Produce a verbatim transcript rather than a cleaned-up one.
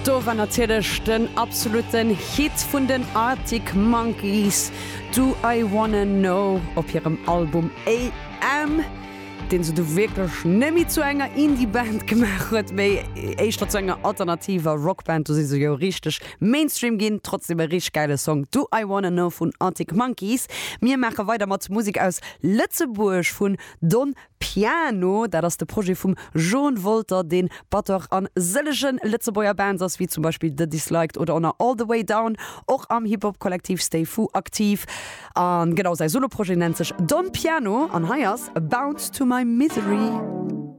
Do war natierlech den absoluten Hit vun den Arctic Monkeys Do I Wanna Know op hirem Album AM, deen se du wierklech net méi zu enger Indie-Band gemaach huet, mee éischter zu enger alternativer Rockband. Do si se jo richteg Mainstream ginn. Trotzdem e richteg gäile Song Do I Wanna Know vun Arctic Monkeys. Mir maache weider mat Musek aus Lëtzebuerg vun Don Piano. Dat ass de Projet vum Jean Wolter, deen Batteur a sëllege Lëtzebuerger Bands ass, wéi zum Beispill The Disliked oder och All The Way Down, och am Hip-Hop-Kollektiv Stay Fu aktiv. An genau säi Solo-Projet nennt sech Don Piano an hei ass Bounce to My Misery.